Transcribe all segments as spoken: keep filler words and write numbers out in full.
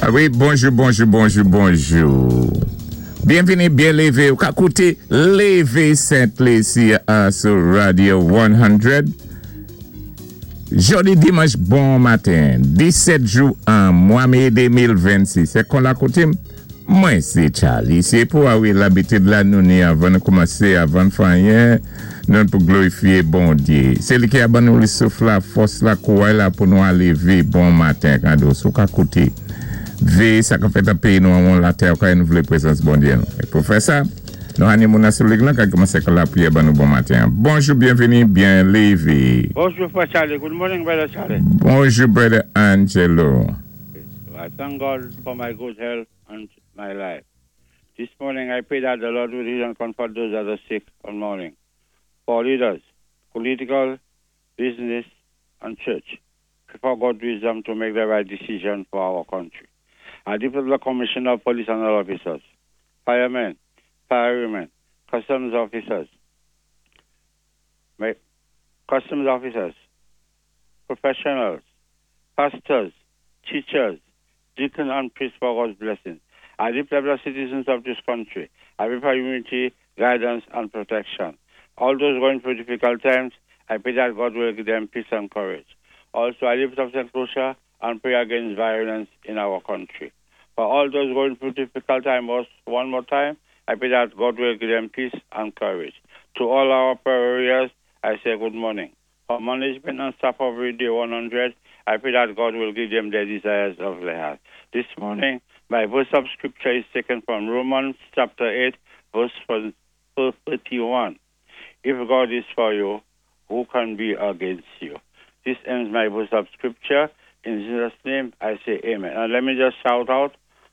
A wi, bonjou, bonjou, bonjou, bonjou. Byenvini, byen lévé. Ou ka kouté Lévé Sent Lisi a sou Radio san. Jodi dimanch bon maten, disèt jou an mwa mé de mil vennsis. Sé kon la koutim, mwen sé Charlie. Sé pou a wi labitid la nou ni avan nou koumansé, avan fè anyen, nou pou glorifié Bondyé. Sé li ki a ban nou li souf la, fòs la, kouway la pou nou lévé bon maten. Kado, sou ka kouté. Vé sa ka fèt an péyi nou an latè, ou ka nou vlé prézans Bondyé nou. É pou fè sa, nou ni moun sou liy lan ka koumansé ka lapriyè ban nou bon maten. Bonjou, byenvini, byen lévé. Bonjou, Frè Charlie. Good morning, Brother Charlie. Bonjou, Brother Angelo. I thank God for my good health and my life. This morning, I pray that the Lord will heal and comfort those that are sick on morning. For leaders, political, business, and church, pray for God's wisdom to make the right decision for our country. I lift up the Commissioner of Police and all officers, firemen, firewomen, customs officers, my, customs officers, professionals, pastors, teachers, deacons, and priests for God's blessing. I lift up the citizens of this country. I pray for unity, guidance, and protection. All those going through difficult times, I pray that God will give them peace and courage. Also, I lift up Saint Lucia and pray against violence in our country. For all those going through difficult times, one more time, I pray that God will give them peace and courage. To all our prayers, I say good morning. For management and staff of Radio one hundred, I pray that God will give them the desires of their heart. This morning, my verse of scripture is taken from Romans chapter eight, verse thirty-one. If God is for you, who can be against you? This ends my verse of scripture. In Jesus' name, I say amen. And let me just shout out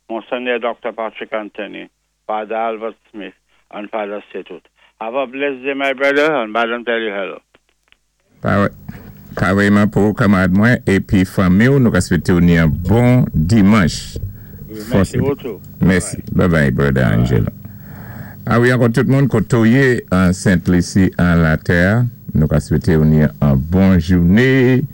Monsignor Doctor Patrick Anthony, Father Albert Smith, and Father Setut. Have a blessed day, my brother, and Madam tell you hello. Parèyman pou kanmarad mwen, épi fanmi ou, nou ka swété ou ni an bon dimanch. Mèsi bokou. Mèsi. Bye bye, Brother Angelo. A wi, ankò tout moun koté ou yé an Sent Lisi an latè, nou ka swété ou ni an bon jouné.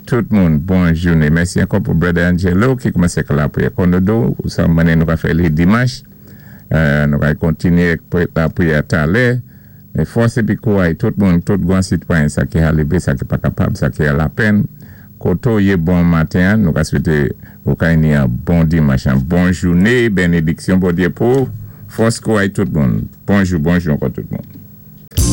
Tout moun, bon jouné. Mèsi ankò pou Brother Angelo ki koumansé ka lapriyè. Kondo ou sa manen nou ka fè li dimanch. Nou ka kontinyé lapriyè talè. Men fòs épi kouway, tout moun, tout gwan sitwayen sa ki lévé, sa ki pa kapab, sa ki a lapenn. Koté ou yé bon maten, nou ka swété ou ka ni an bon dimanch, an bon jouné, bénédiksyon Bondyé pou, fòs kouway tout moun. Bonjou, bonjou ankò tout moun.